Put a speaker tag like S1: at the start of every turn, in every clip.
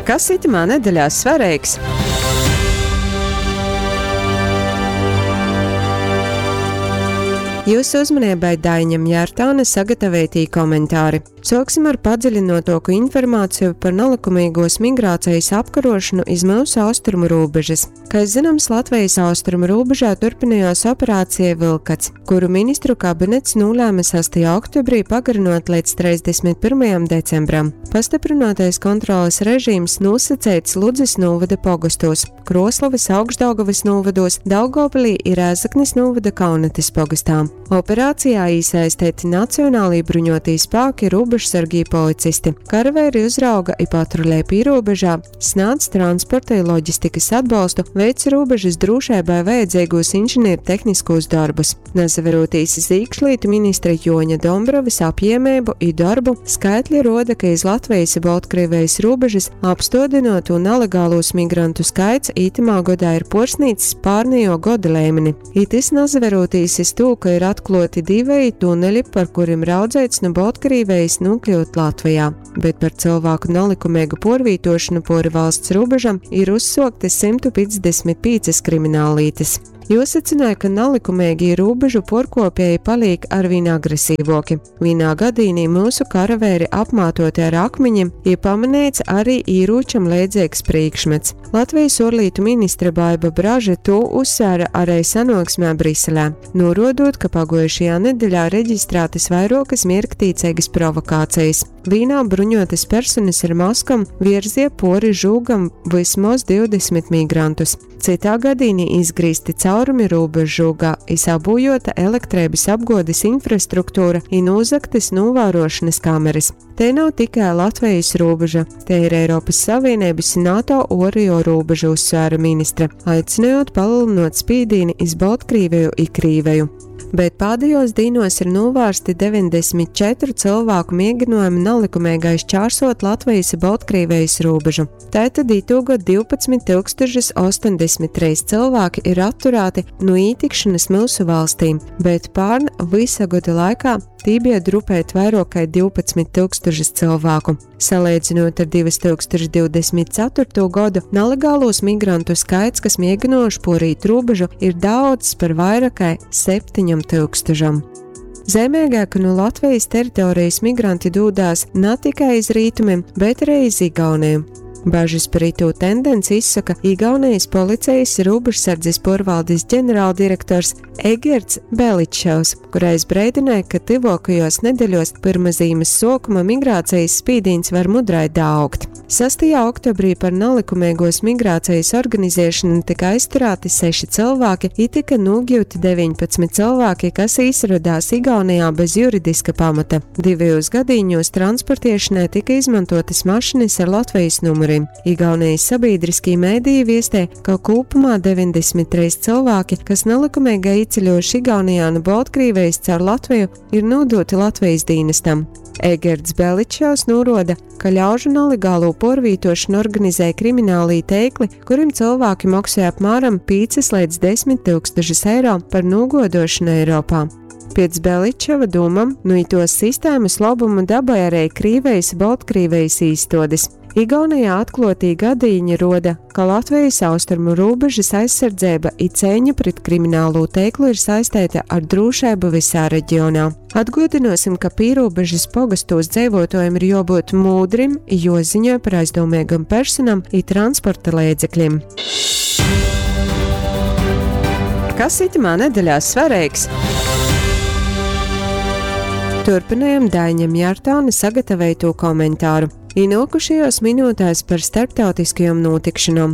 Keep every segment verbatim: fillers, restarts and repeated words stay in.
S1: Kas itymā nedeļā svareigs? Jūsu uzmanībai Daiņa Mjārtāne sagatavotie komentāri. Sāksim ar padziļinotāku informāciju par nalikumīgos migrācijas apkarošanu iz mūsu austrumu robežas. Kā zināms, Latvijas austrumu robežā turpinājās operācija Vilkats, kuru ministru kabinets nolēma sastajā oktobrī pagarinot līdz trīsdesmit pirmajam decembram. Pastiprinātais kontroles režīms nosacīts Ludzas novada pogostos, Kroslovas, Augšdaugavas novados, Daugavpilī ir Rēzeknes novada Kaunates pogastā. Operācijā iesaistīti nacionālī bruņotī spēki, robežsargi policisti. Karaveiri uzrauga i patruļē pīrobežā, snādz transporta i loģistikas atbalstu, veic robežas drošībai vajadzīgos inženiertehniskos darbus. Nasaverotīs iz iekšlietu ministra Joņa Dombrovis apjēmību i darbu, skaitļi roda, ka iz Latvijas i Baltkrievijas robežas apstādināto nelegālos migrantu skaits itamā godā ir porsnīcis pārnējo goda līmeni. I tys nasaverotīs iz to, ka ir atklāti divi tuneļi, par kuriem raudzēts no Baltkrievijas nokļūt Latvijā, bet par cilvēku nelikumīgu porvītošanu pori valsts robežam ir uzsoktas simt piecdesmit piecas krimināllietas. Jo secināja, ka nelikumīgi robežu porkopēji paliek arvien agresīvoki. Vienā gadījumā mūsu karavēri apmātoti ar akmeņiem, ir pamanīts arī īrūčam līdzīgs priekšmets. Latvijas ārlietu ministre Baiba Braže to uzsvēra arī sanāksmē Briselē, norodot, ka pagojušajā nedēļā reģistrētas vairākas mierktīcīgas provokācijas. Vīnā bruņotas personas ar maskam virzie pori žūgam vismaz divdesmit migrantus. Citā gadījumā izgrīzti caurumi robežžūgā, izabūjota elektrības apgodes infrastruktūra un uzaktas novērošanas kameras. Te nav tikai Latvijas robeža, te ir Eiropas Savienības un NATO oreo robeža, uzsvēra ministre, aicinot palielinot spīdīni iz Baltkrieviju i Krīveju. Bet pēdējos dīnos ir novērsti deviņdesmit četru cilvēku mēģinājumi nelikumīgai šķērsot Latvijas un Baltkrievijas robežu. Tātad itūgad divpadsmit tūkstošus astoņdesmit trīs cilvēki ir atturēti no ītikšanas mūsu valstīm, bet pārn visa gada laikā tī bija drupēt vairāk kā divpadsmit tūkstošus cilvēku. Salīdzinot ar divas tūkstoši divdesmit ceturto gadu, nelegālos migrantu skaits, kas mēģinājuši porīt robežu, ir daudz par vairāk kā septiņam tūkstošam. Zemīgāk no Latvijas teritorijas migranti dūdās ne tikai iz rietumiem, bet arī iz Igauniju. Bažas par itū tendenci izsaka Igaunijas policijas robežsardzes porvaldes ģenerāldirektors Egerts Beličevs, kurais brēdināja, ka tuvākajos nedēļos pirma zīmes sokuma migrācijas spīdīns var mudrai daugt. Sastajā oktobrī par nelikumīgos migrācijas organizēšanu tika aizturēti seši cilvēki, i tika nogļūti deviņpadsmit cilvēki, kas īsradās Igaunijā bez juridiska pamata. Divajos gadījumos transportiešanai tika izmantotas mašinas ar Latvijas numuriem. Igaunijas sabiedriskie mēdīji viestē, ka kopumā deviņdesmit trīs cilvēki, kas nelikumīgi ieceļojuši Igaunijā no Baltkrievijas caur Latviju, ir nodoti Latvijas dienestam. Egerts Beličevs noroda, ka ļaužu nelegālo porvītošanu organizē kriminālī teikli, kurim cilvēki maksāja apmēram piecas līdz desmit tūkstošus eiro par nogodošanu Eiropā. Pēc Beličeva domam, nu itos sistēmas labumu dabai arī Krīvejas Baltkrievijas īstodes. Igaunijā atklātī gadīņi roda, ka Latvijas austrumu robežas aizsardzība i cīņa pret kriminālo teiklu ir saistīta ar drošību visā reģionā. Atgādināsim, ka pīrobežas pogastos dzīvotājiem ir jābūt mūdrim, jo ziņo par aizdomīgam personam i transporta līdzekļiem. Kas itamā nedēļā svarīgs? Turpinājam Daiņam Jārtāne sagatavoto komentāru. Inokušajos minūtēs par starptautiskajām notikšanām.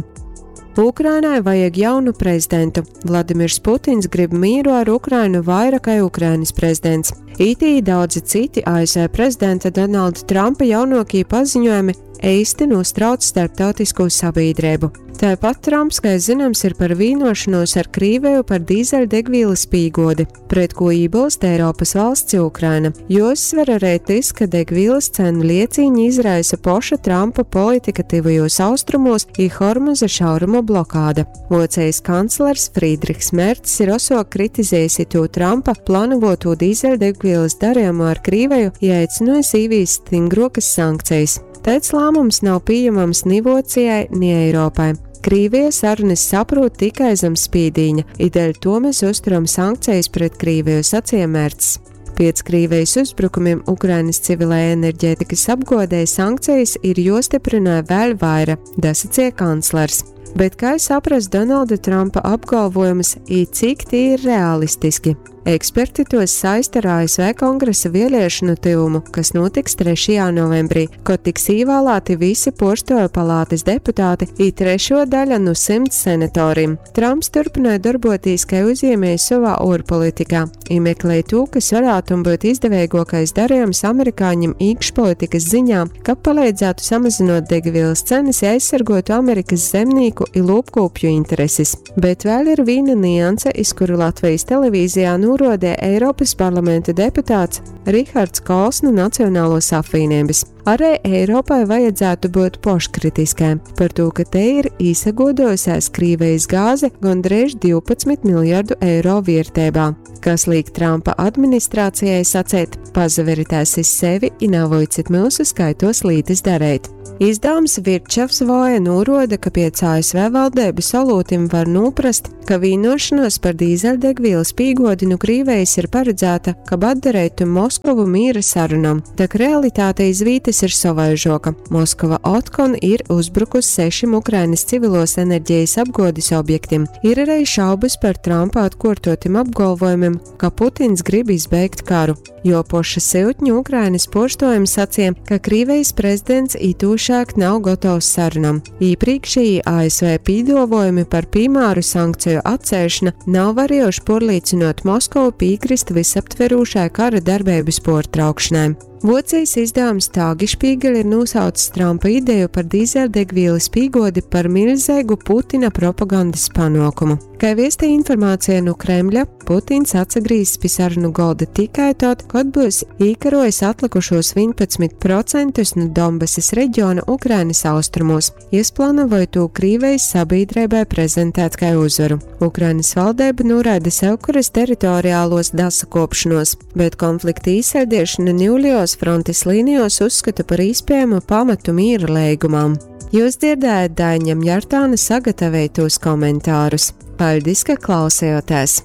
S1: Ukrainai vajag jaunu prezidentu. Vladimirs Putins grib mieru ar Ukrainu vairāk kā Ukrainas prezidents. Itī daudzi citi A S V prezidenta Donalda Trumpa jaunākie paziņojumi īsti nostrauc starptautisko sabiedrību. Tāpat Trumps, kā zināms, ir par vienošanos ar Krīveju par dīzeļdegvielas pīgodi, pret ko iebilst Eiropas valsts Ukraina. Jo uzsver arī tas, ka degvielas cenu liecīņi izraisa poša Trumpa politika tuvajos austrumos i Hormuza šauruma blokāda. Vocijas kanclers Friedrichs Mercs ir oso kritizējis to Trumpa plānoto dīzeļdegvielas darījumu ar Krīveju, ja aicinājis īvīst stingrokas sankcijas. Taids lāmums nav pījamams ni Vuocijai, ni Eiropai. Krīvija sarunas saprūt tikai zem spīdīņa, i dēļ to mēs uzturam sankcijas pret Krīviju, sacīja Mercs. Piec Krīvijas uzbrukumiem Ukrainas civilajai enerģētikas apgodei sankcijas ir jostiprināja vēl vaira, dasacīja kanclers. Bet kā saprast Donalda Trumpa apgalvojumus, i cik tie ir realistiski? Eksperti tos saista ar A S V kongresa vēlēšanu tyvumu, kas notiks trešajā novembrī, kad tiks ievēlēti visi puorstuoju palātes deputāti i trešo daļa nu simts senatorim. Trumps turpināja darboties kā uzņēmējs savā ārpolitikā i meklēja to, kas varētu būt izdevīgākais darījums amerikāņiem iekšpolitikas ziņā, ka palīdzētu samazinot degvielas cenas i aizsargotu Amerikas zemnieku i lopkopju intereses. Bet vēl ir viena nianse, iz kuru Latvijas televīzijā norodē Eiropas parlamenta deputāts Rihards Kols no Nacionālos apvienības. Arī Eiropai vajadzētu būt poškritiskai par to, ka te ir īsagodojusies Krīvijas gāze gandrīz divpadsmit miljardu eiro vērtībā, kas liek Trumpa administrācijai sacēt: pazaveritēs iz sevi i navoicit mūsu skaitos lītas darēt. Izdevums Wirtschaftswoche noroda, ka pēc A S V valdības olūtim var noprast, ka vienošanos par dīzeļdegvielas pīgodi nu Krīvijas ir paredzēta, kab atdarētu Moskovu mīra sarunam, tak realitāte iz vītas ir savaižoka. Moskova otkon ir uzbrukusi sešim Ukrainas civilos enerģijas apgodis objektiem. Ir arī šaubas par Trumpa atkārtotim apgalvojumiem, ka Putins grib izbeigt karu, jo poša siltņu Ukrainas poštojumi sacīja, ka Krīvijas prezidents itūšāk nav gatavs sarunam. Iepriekšējie A S V pīdovojumi par piemēru sankciju atcēšana nav varējuši porlīcinot Moskovu piekrist visaptverūšai kara darbības portraukšanai. Vocijas izdevums Tagesspiegel ir nosaucis Trumpa ideju par dīzeļdegvielas pīgodi par milzīgu Putina propagandas panākumu. Kā viestī informācija no Kremļa, Putins atsagrīzs pie sarunu golda tikai tad, kad būs īkarojis atlikušos vienpadsmit procentus no Donbasas reģiona Ukrainas austrumos. Jis plānoja to Krīvijas sabiedrībai prezentēt kā uzvaru. Ukrainas valdība noraida sevkuras teritoriālos dasakopšanos, bet konflikta īsēdiešana Ņūlijos frontes līnijos uzskata par iespējamu pamatu mīra leigumam. Jūs dzirdējat Daiņam Jartāna sagatavotos komentārus. Paldies, ka klausījāties!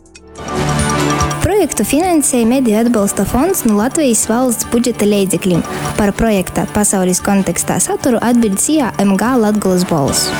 S2: Projektu finansēja Mediju atbalsta fonds no Latvijas valsts budžeta leidzekļiem. Par projekta pasaules kontekstā saturu atbild S I A M G Latgolas Bolss.